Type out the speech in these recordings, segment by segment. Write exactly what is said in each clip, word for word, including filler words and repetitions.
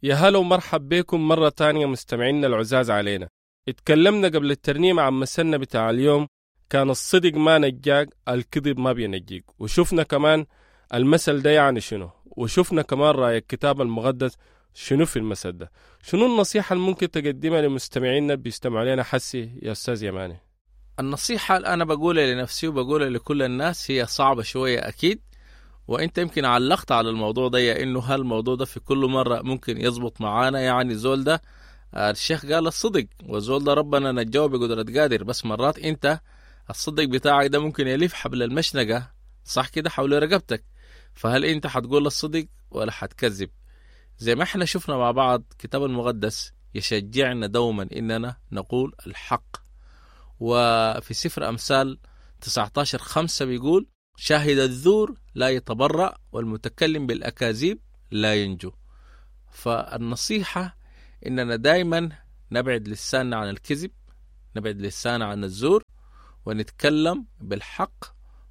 يا هلا ومرحب بكم مرة تانية مستمعينا العزاز علينا. اتكلمنا قبل الترنيمة عن مثلنا بتاع اليوم، كان الصدق ما نجاك الكذب ما بينجيك، وشفنا كمان المثل ده يعني شنو، وشفنا كمان رأي الكتاب المقدس شنو في المثل ده. شنو النصيحة اللي ممكن تقدمها لمستمعينا بيستمعوا لنا حسي يا أستاذ يماني؟ النصيحة اللي أنا بقولها لنفسي وبقولها لكل الناس هي صعبة شوية أكيد، وانت يمكن علقت على الموضوع ده، انه هالموضوع ده في كل مرة ممكن يزبط معانا. يعني زول ده الشيخ قال الصدق، والزول ده ربنا نجاه بقدرة قادر، بس مرات انت الصدق بتاعك ده ممكن يلف حبل المشنقة صح كده حول رقبتك، فهل انت حتقول الصدق ولا حتكذب؟ زي ما احنا شفنا مع بعض كتاب المقدس يشجعنا دوما اننا نقول الحق. وفي سفر أمثال تسعتاشر خمسة بيقول شاهد الزور لا يتبرأ والمتكلم بالأكاذيب لا ينجو. فالنصيحة إننا دايما نبعد لساننا عن الكذب، نبعد لساننا عن الزور، ونتكلم بالحق،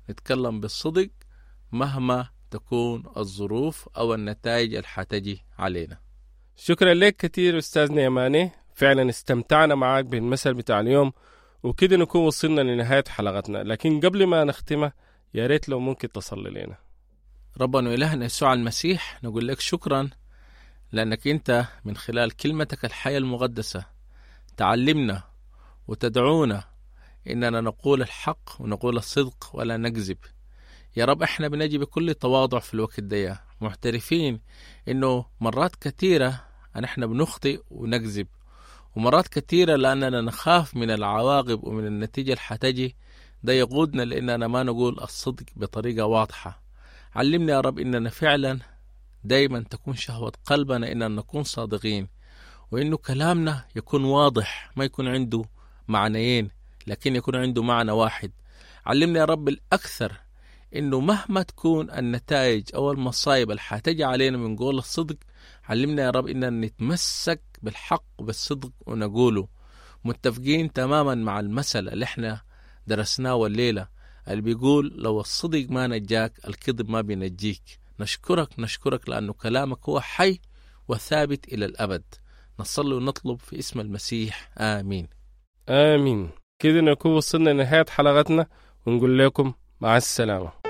نتكلم بالصدق مهما تكون الظروف أو النتائج اللي حتجي علينا. شكرا لك كثير أستاذنا يماني، فعلا استمتعنا معاك بالمثل بتاع اليوم، وكده نكون وصلنا لنهاية حلقتنا. لكن قبل ما نختمها يا ريت لو ممكن تصلي لنا. ربنا وإلهنا يسوع المسيح، نقول لك شكرا لأنك أنت من خلال كلمتك الحية المقدسة تعلمنا وتدعونا إننا نقول الحق ونقول الصدق ولا نكذب. يا رب احنا بنجي بكل تواضع في الوقت ده، معترفين إنه مرات كثيرة نحن بنخطئ ونكذب، ومرات كثيرة لأننا نخاف من العواقب ومن النتيجة اللي حتجي، ده يقودنا لأننا ما نقول الصدق بطريقة واضحة. علمنا يا رب إننا فعلا دايما تكون شهوة قلبنا إننا نكون صادقين، وإنه كلامنا يكون واضح، ما يكون عنده معنيين لكن يكون عنده معنى واحد. علمنا يا رب الأكثر إنه مهما تكون النتائج أو المصايب اللي حتجي علينا من قول الصدق، علمنا يا رب إننا نتمسك بالحق وبالصدق ونقوله. متفقين تماما مع المثل اللي احنا درسناه الليلة اللي بيقول لو الصدق ما نجاك الكذب ما بينجيك. نشكرك نشكرك لأنه كلامك هو حي وثابت إلى الأبد. نصلي ونطلب في اسم المسيح، آمين. آمين. كده نكون وصلنا لنهاية حلقتنا، ونقول لكم مع السلامة.